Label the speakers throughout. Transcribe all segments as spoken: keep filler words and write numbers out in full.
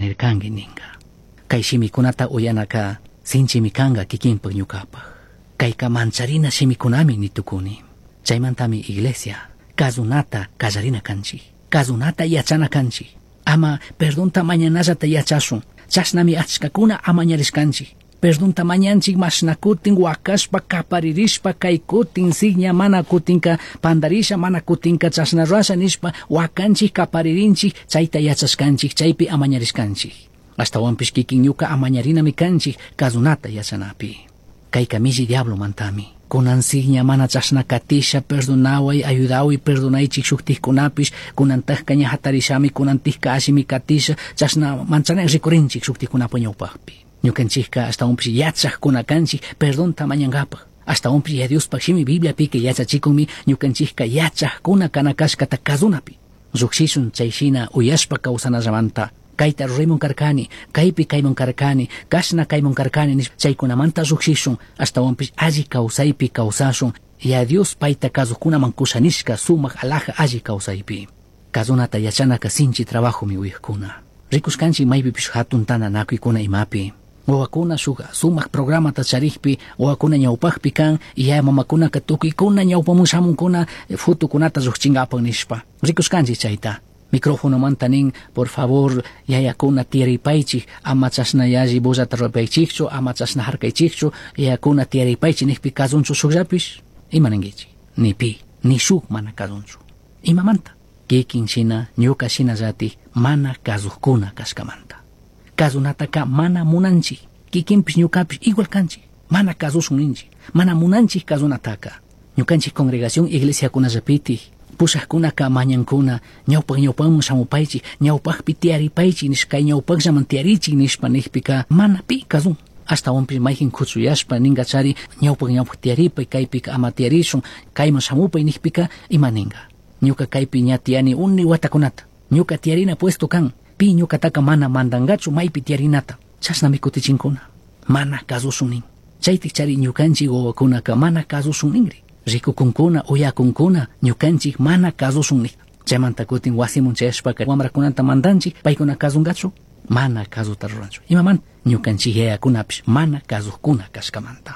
Speaker 1: nircangui ninga. Kay shimikunata uyanaka sinchimi kanga kikinpak ñukapak. Kayka mancharina shimikunami nitukuni. Chaymantami iglesia kazunata kallarina kanchik. Kazunata yachana kanchik. Ama perdonta mañanallata yachashun. Chashnami achkakuna amañarishkanchik. Perdonta mañanchik mashna kutin wakashpa kaparirishpa kay kutin sigña mana kutinka pandarisha mana kutinka chashna rurasha nishpa wakanchik kaparirinchik chayta yachashkanchik chaypi amañarishkanchik. Ashtawanpish kikin ñuka amañarinami kanchik kazunata yachanapi. Kayka milli diablo mantami. Kunan sigña mana chashna katisha perdonaway ayudaway perdonaychik shuktikkunapish kunantajka ña hatarishami kunantikka allimi katisha chashna manchana rikurinchik shuktikkunapa ñawpakpi. Ñukanchikka ashtawanpish yachaqkuna kanchik perdonta mañankapaq. Ashtawanpish ya Diospaq shimi Bibliapika yachachikunmi ñukanchikka yachaqkuna kana kashkata kazunapi. Lluqshishun chay shina uyashpa kawsanallamanta. Kayta ruraymun karkani, kaypi kaymun karkani, kashna kaymun karkani nishpa chaykunamanta lluqshishun ashtawanpish alli kawsaypi kawsashun ya Dios payta kasuqkunaman kushanishka sumaq alaja alli kawsaypi. Kazunata yachanaka sinchi trabajomi uyaqkuna. Rikushkanchik maypipish hatun tantanakuykuna imapi. Wawakuna shuk sumaq programata charikpi wawakuna ñawpakpi kan yaya mamakunaka tukuykuna ñawpamun shamunkuna fotokunata lluqchinkapak nishpa. Rikushkanchik chayta. Microfonomanta nin, por favor, yayakuna tiyaripaychik, ama chashna yalli bullata rurapaychikchu, ama chashna harkaychikchu, yayakuna tiyaripaychik nikpi kazunchu shukllapish, ima ninkichik? Ni pi, ni shuk mana kazunchu. Imamanta? Kikin shina, ñuka shinallatik, mana kazukkuna kashkamanta. Kazunataka mana munanchik, kikinpish ñukapish igual kanchik, mana kazushun ninchik, mana munanchik kazunataka. Ñukanchik congregación iglesiakunallapitik, pushaqkunaka mañankuna ñawpaq ñawpaqman shamupaychik ñawpaqpi tiyaripaychik nishpa kay ñawpaqllaman tiyarichik nishpa nijpika mana pi kazun. Ashtawanpish mayqin kuchuyashpa ninkachari ñawpaq ñawpaq tiyaripay kaypika ama tiyarishun kayman shamupay nijpika ima ninka. Ñuka kaypi ña tiyani uni watakunata ñuka tiyarina puesto kan pi ñukataka mana mandankachu maypi tiyarinata chashnami kutichinkuna mana kasushun nin. Chaytik chari ñukanchik wawakunaka mana kasushun ninri. Rikukunkuna uyakunkuna ñukanchik mana kasushun nik. Chaymanta kutin wasimun chayashpaka wamrakunata mandanchik paykuna kasunkachu mana kasuta ruranchu. Imamanta ñukanchik yayakunapish mana kasukkuna kashkamanta.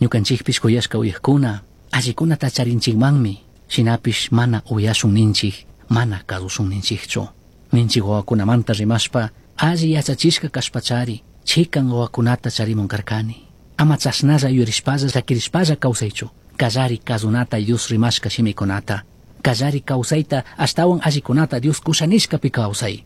Speaker 1: Ñukanchikpish kuyashka uyaqkuna allikunata charinchikmanmi shinapish mana uyashun ninchik mana kasushun ninchikchu. Ninchik wawakunamanta rimashpa alli yachachishka kashpachari chikan wawakunata charimun karkani. Ama chashnalla yuyarishpalla llakirishpalla kawsaychu. Kallari kazunata Dios rimashka shimikunata. Kallari kawsayta ashtawan allikunata Dios kushanishkapi kawsay.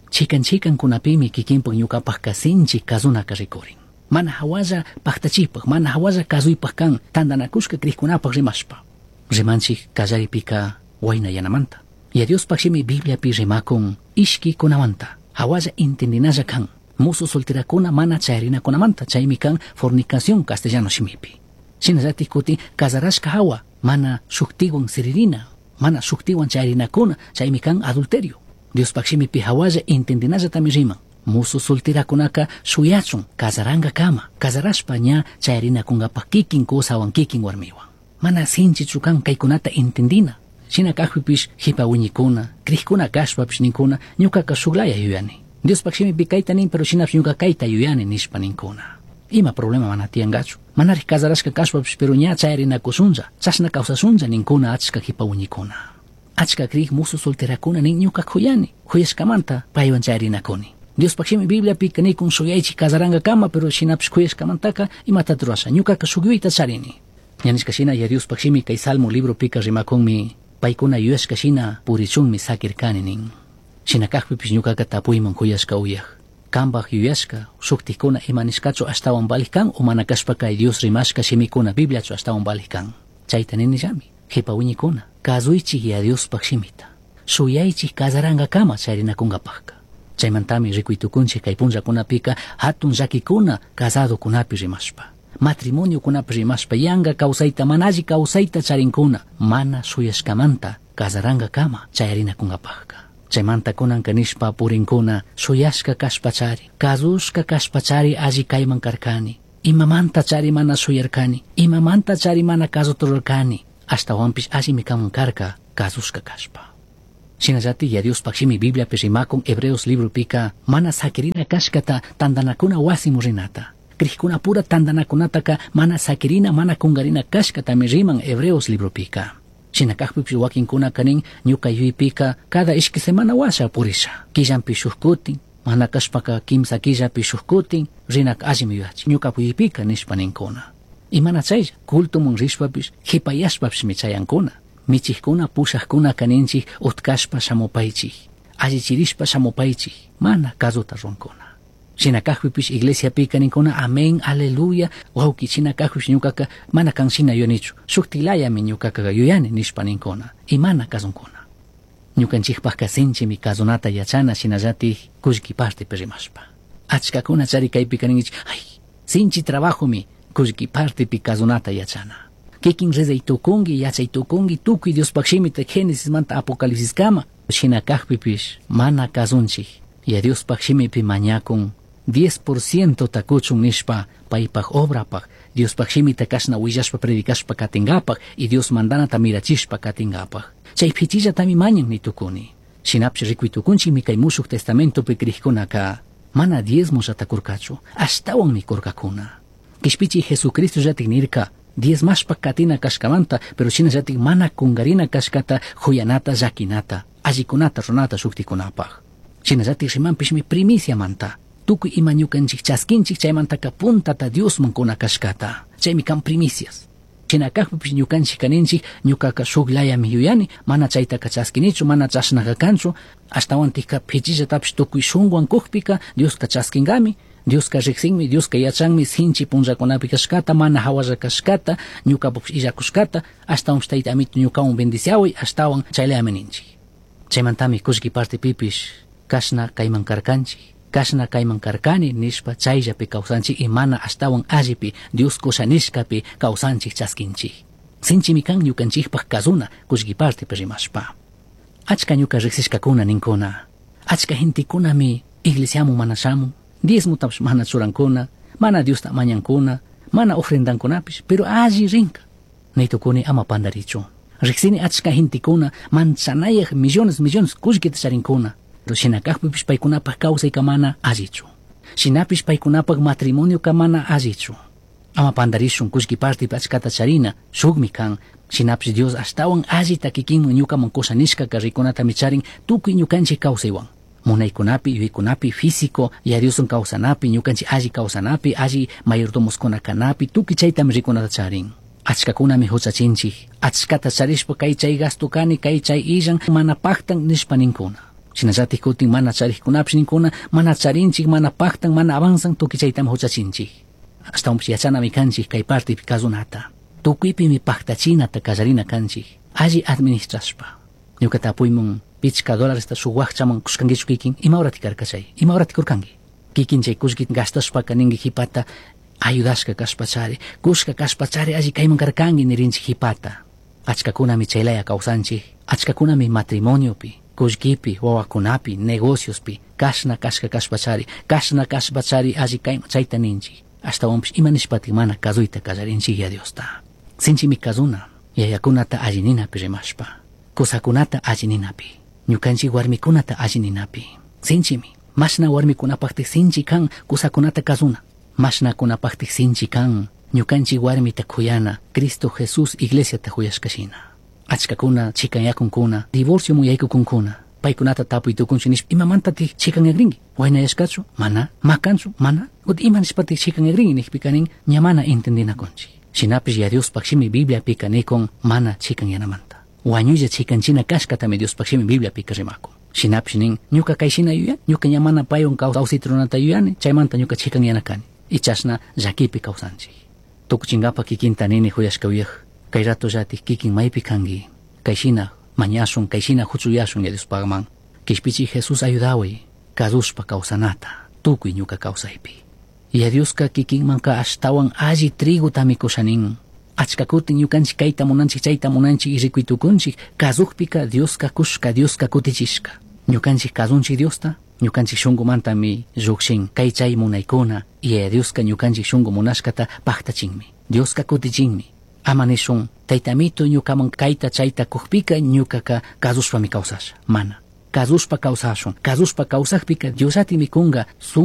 Speaker 1: Chikan chikan kunapimi kikinpak ñukapakka sinchi kazunaka rikurin. Mana hawalla paktachipaq, mana hawalla kazuypaq kan tantanakushka krikkunapak rimashpa. Rimanchik kallaripika wayna yanamanta. Ya Diospaq shimi Bibliapi rimakun ishkikunamanta. Hawalla intendinalla kan. Musu solterakuna mana chayarinakunamanta chaymi kan fornicación castellano shimipi. Shinallatik kutin casarashka hawa mana shuktiwan siririna, mana shuktiwan chayarinakuna, chaymi kan adulterio. Diospaq shimipi hawalla intendinallatami riman. Musu solterakunaka shuyachun casarankakama, casarashpa ña chayarinakunkapaq kikin kusawan kikin warmiwan. Mana sinchichu kan kaykunata intendina. Shina kajpipish jipa wiñikuna, krikuna kashpapish ninkuna, ñukaka shuklaya yuyani. Diospaq shimipi kayta nin, pero shinapish ñuka kayta yuyani nishpa ninkuna. Ima problema mana tiyankachu. Manarij casarashka kashpapish pero ña chayarinakushunlla, chashna kawsashunlla ninkuna achka jipa wiñikuna. Achka krik musu solterakuna nin ñuka kuyani, kuyashkamanta paywan chayarinakuni. Diospaq shimi Bibliapika nikun shuyaychik casarankakama, pero shinapish kuyashkamantaka imatata rurasha, ñukaka shuk yuyayta charini. Ña nishka shina ya Diospaq shimi kay Salmo libropika rimakunmi paykuna yuyashka shina purichunmi sakirkani nin. Shina kajpipish ñukaka tapuyman kuyashka uyaq. Kambaj yuyashka shuktikuna ima nishkachu ashtawan valij kan o mana kashpa kay Dios rimashka shimikuna Bibliachu ashtawan valij kan. Chayta ninillami jipa wiñikuna kasuychik ya Diospaq shimita. Shuyaychik casarankakama charinakunkapaqka. Chaymantami rikuytukunchik kay punllakunapika hatun llakikuna casadokunapi rimashpa. Matrimoniokunapi rimashpa yanka kawsayta mana alli kawsayta charinkuna mana shuyashkamanta casarankakama chayarinakunkapaqka. Chaymanta kunanka nishpa purinkuna shuyashka kashpachari, kasushka kashpachari alli kayman karkani. Imamanta chari mana shuyarkani, imamanta chari mana kasuta rurarkani, ashtawanpish allimi kaman karka kasushka kashpa. Shinallatik ya Diospaj shimi Bibliapi rimakun Hebreos libropika mana sakirina kashkata tandanakuna wasimu rinata. Crijkuna pura tandanakunataka mana sakirina mana kungarina kashkatami riman Hebreos libropika. Shina kajpipish wakinkunaka nin ñuka yuypika cada ishki semana washa purisha. Killanpi shuk kutin, mana kashpaka kimsa killapi shuk kutin, rinaka allimi yuyachin. Ñuka yuypika nishpa ninkuna. Y mana chaylla, cultomun rishpapish, hipayashpapishmi chayankuna. Michijkuna pushajkuna kaninchik utkashpa shamupaychik, allichirishpa shamupaychik, mana kasuta runkuna. Shina kajpipish iglesiapika ninkuna amén, aleluya, wawki shina kajpish ñukaka mana kan shina yuyanichu, shuktilayami ñukaka yuyani nishpa ninkuna, y mana kasunkuna. Ñukanchikpajka sinchimi kasunata yachana shinallatik kullki partepi rimashpa. Achkakuna chari kaypika ninkichik, ay, sinchi trabajomi kullki partepi kasunata yachana. Kikin rezay tukunki, yachay tukunki, tukuy Diospaj shimita Génesismanta Apocalipsiskama. Shina kajpipish mana kasunchik. Ya Diospaj shimipi mañakun diez por ciento takuchun nishpa paypaj obrapaj, Diospaj shimita kashna willashpa predicashpa katingapaj y Dios mandanata mirachishpa katingapaj. Chay pichillatami mañan ni tukuni. Shinapish rikuy tukunchikmi kay mushuq testamentopi crijkunaka mana diezmollata kurkachu, ashtawanmi kurkakuna. Kishpichi Jesucristo llatik nirka diezmashpa katina kashkamanta, pero shinallatik mana kungarina kashkata huyanata llakinata, allikunata runata shuktikunapaj. Shinallatik rimanpishmi primiciamanta. Tukuy ima ñukanchik chaskinchik chaymantaka puntata Diosman kuna kashkata. Chaymi kan primicias. Shina kajpipish ñukanchik kaninchik ñukaka shuklayami yuyani, mana chaytaka chaskinichu, mana chashnaka kanchu, ashtawantikka pichillatapish tukuy shunwan kujpika Dioska chaskinkami, Dioska riqsinmi, Dioska yachanmi sinchi punllakunapi kashkata, mana hawalla kashkata, ñukapupish illakushkata, ashtawanpish tayta amito ñukawan bendiciaway, ashtawan chaylayami ninchik. Chaymantami kullki partepipish kashna kayman karkanchik, kashna kayman karkani nishpa chayllapi kawsanchik y mana ashtawan allipi Dios kusha nishkapi kawsanchik chaskinchik. Sinchimi kan ñukanchikpaj kasuna kullki partepi rimashpa. Achka ñuka riqsishkakuna ninkuna, achka gentekunami iglesiamun mana shamun, diezmotapish mana churankuna, mana Diosta mañankuna, mana ofrendankunapish, pero alli rinka. Naytukuni ama pandarichu. Riqsini achka gentekuna manchanayaj millones millones kullkita charinkuna. Pero shina kajpipish paykunapaj kawsayka mana allichu. Shinapish paykunapaj matrimonioka mana allichu. Ama pandarishun kullki partepi achkata charina, shukmi kan. Shinapish Dios ashtawan allita kikinman ñukaman kusha nishkaka rikunatami charin tukuy ñukanchik kawsaywan. Munaykunapi, yuyaykunapi, físico, ya Diosun kawsanapi, ñukanchik alli kawsanapi, alli mayordomoskuna kanapi, tukuy chaytami rikunata charin. Achkakunami huchachinchik, achkata charishpa kay chay gasto kani, kay chay illan, mana paktan nishpa ninkuna. Shinallatik kutin mana charikkunapish ninkuna, mana charinchik, mana paktan, mana avanzan, tukuy chaytami huchachinchik. Ashtawanpish yachanami kanchik kay partepi kasunata. Tukuypimi paktachinata kallarina kanchik, alli administrashpa. Ñuka tapuymun pichka dólaresta shuk wakchaman kushkankichu kikin, ima horati karka chay, ima horati kurkanki. Kikin chay kullki gastashpaka ninki hipata, ayudashka kashpachari, kushka kashpachari alli kayman karkanki nirinchik hipata. Achkakunami chaylaya kawsanchik, achkakunami matrimoniopi, kullkipi, wawakunapi, negociospi, kashna kashka kashpachari, kashna kashpachari alli kayman chayta ninchik. Ashtawanpish ima nishpatik mana kasuyta kallarinchik ya Diosta. Sinchimi kasuna, yayakunata alli ninapi rimashpa, kusakunata alli ninapi, ñukanchik warmikunata alli ninapi. Sinchimi, mashna warmikunapaktik sinchi kan kusakunata kasuna, mashnakunapaktik sinchi kan ñukanchik warmita kuyana, Cristo Jesús iglesiata kuyashkashina. Achkakuna chikanyakunkuna, divorcio muyaykukunkuna, paykunata tapuy tukunchik nishpa imamantatik chikanyakrinki, waynayashkachu, mana, makanchu, mana, ut ima nishpatik chikanyakrinki nijpika nin ña mana entendinakunchik. Shinapish ya Diospaj shimi Bibliapika nikun mana chikanyanamanta. Wañuylla chikanchina kashkatami Diospaj shimi Bibliapika rimakun. Shinapish nin ñuka kay shina yuyan, ñuka ña mana paywan kawsayta runata yuyani, chaymanta ñuka chikanyana kani. Y chashna llakipi kawsanchik. Tukuchinkapa kikinta nini huyashka uyaj, kay rato llatik kikin maypi kanki, kay shina mañashun, kay shina huchuyashun ya Diospajman. Kishpichi Jesús ayudaway, kasushpa kawsanata, tukuy ñuka kawsaypi. Ya Dioska kikinmanka ashtawan alli trigotami kushanin. Achkakutin ñukanchik kayta munanchik, chayta munanchik y rikuy tukunchik, kasukpika Dioska kushka, Dioska kutichishka. Ñukanchik kasunchik Diosta, ñukanchik shunkumantami llukshin, kay chay munaykuna, y ya Dioska ñukanchik shunku munashkata paktachinmi. Dioska kutichinmi. Ama nishun tayta amito ñukaman kayta chayta kukpika ñukaka kazushpami kawsasha. Mana. Kazushpa kawsashun. Kazushpa kawsakpika Diosatimi kunga suma